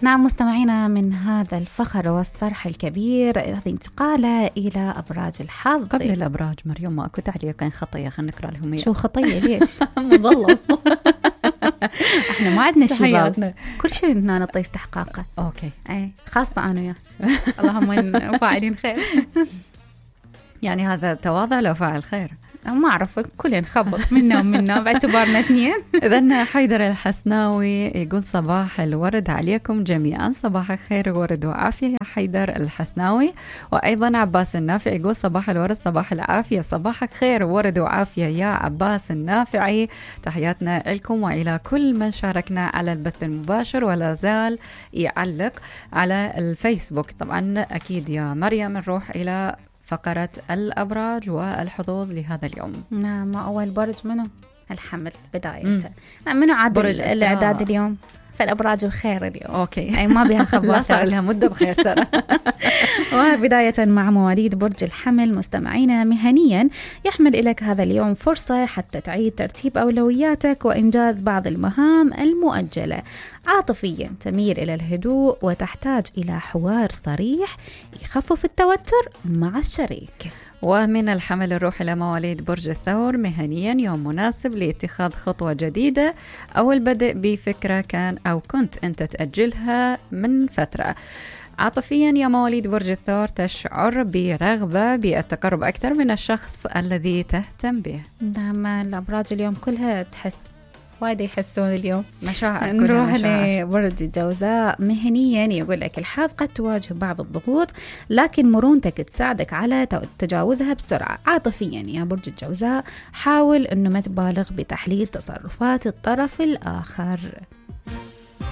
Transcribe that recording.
نعم مستمعينا، من هذا الفخر والصرح الكبير هذه انتقالة إلى أبراج الحظ. قبل الأبراج مريم ما أكو تعليقين خطية، خلينا نقرأ لهم. شو خطية ليش؟ مظلم. احنا ما عندنا شباب، كل شيء هنا نعطي استحقاقه. اوكي اي خاصة أنا وياك. اللهم فاعلين خير. يعني هذا تواضع لو فاعل خير. ما أعرف، كلنا نخبط منا ومنا باعتبارنا اثنين. إذن حيدر الحسناوي يقول صباح الورد عليكم جميعا. صباح الخير ورد وعافية يا حيدر الحسناوي. وأيضا عباس النافع يقول صباح الورد صباح العافية. صباحك خير ورد وعافية يا عباس النافعي. تحياتنا لكم وإلى كل من شاركنا على البث المباشر ولا زال يعلق على الفيسبوك. طبعا أكيد يا مريم نروح إلى فقرة الأبراج والحظوظ لهذا اليوم. نعم، أول برج منه الحمل بداية. منه عادل الإعداد اليوم، فالأبراج بخير اليوم. أوكي. أي ما بها خبرات. لا صار لها مدة بخير ترى. وبداية مع مواليد برج الحمل مستمعينا، مهنيا يحمل إليك هذا اليوم فرصة حتى تعيد ترتيب أولوياتك وإنجاز بعض المهام المؤجلة. عاطفيا تميل إلى الهدوء وتحتاج إلى حوار صريح يخفف التوتر مع الشريك. ومن الحمل الروح إلى مواليد برج الثور، مهنيا يوم مناسب لاتخاذ خطوة جديدة أو البدء بفكرة كان أو كنت أنت تأجلها من فترة. عاطفيا يا مواليد برج الثور تشعر برغبة بالتقرب أكثر من الشخص الذي تهتم به. نعم، الأبراج اليوم كلها تحس وايد يحسون اليوم مشاعر. نروح لبرج الجوزاء. مهنيا يقول لك الحظ قد تواجه بعض الضغوط لكن مرونتك تساعدك على تجاوزها بسرعة. عاطفيا يا برج الجوزاء حاول انه ما تبالغ بتحليل تصرفات الطرف الآخر.